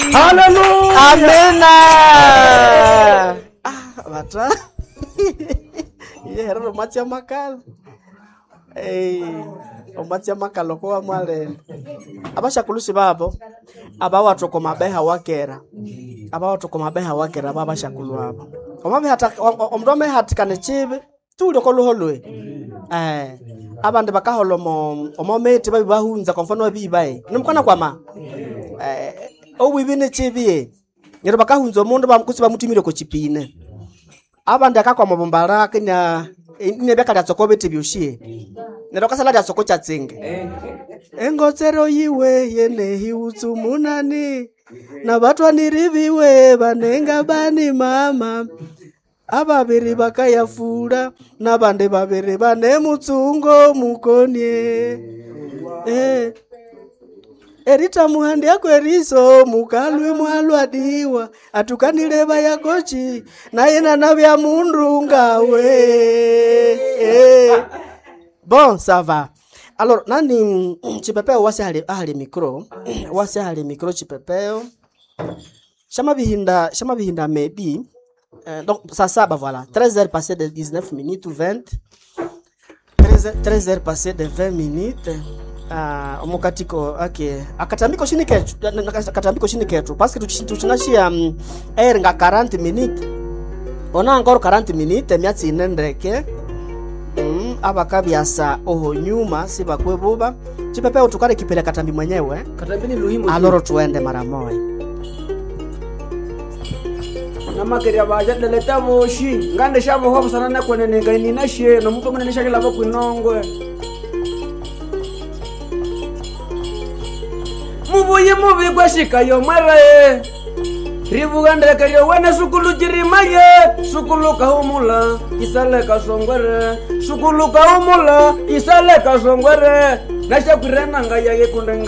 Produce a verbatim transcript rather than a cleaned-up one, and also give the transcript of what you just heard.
Haleluya. Amena. Ah, bata. Ye herero matsi amakala. Eh, omatsi amakala ko wamalele. Abashakulusi babo abawathu mabeha wakera. Abawathu mabeha wakera babashakulu abo. Omabeha omundu amehatikana ekibi tuli okoluholwe. Eh, abandi bakahola omo omo miti babibahunza kwa mfano abibae. Nimukwana kwama. Eh, obwibi nekibi neryo bakahunza omundu bamukutsi bamutumire oko kipine abandi akakwama obumbara kenya inebya lyatsoko bithi byoshi neryo kasala lyatsoko kyatsinge engotsero yiwe yenehiutsu munani nabatwaniri biwe banenga bani mama ababiri bakayafula nabandi babiri bane mutsungo mukonie eh. Eritamuhandia kweriso mukalwe mwalwadiwa atukanile bayakochi naye nanabya mundu ngawe eh. Bon, ça va. Alors, nani mm, chipepeo wasi hali, ahali micro wasi hali micro chipepeo shama bihinda shama bihinda maybe euh, donc ça ça bah voilà treize heures passées de dix-neuf minutes ou vingt treize heures passées de vingt minutes. Ah, omukatiko ake akatambiko shini ketu akatambiko shini ketu parce que tuchinashia um, air nga quarante minutes ona encore quarante minutes emyatsi ine ndeke mm, abakabyasa oho nyuma sibakwebuba chipepeo tukale kipele katambi mwenyewe Katambini luhimbo. aloro tuende mara moya Namakerya baja leleta boshi. Ngande shabo hobo sana nakwenene nina she no mutwe munene shakila bakwinongwe. Mubuye mubi gwashikayo mwere. Ribugandrekeryo wene sukulu jirimaye sukulu kahumula isale kasongwere sukulu kahumula isale kasongwere nashakwire nanga yaye kundenga.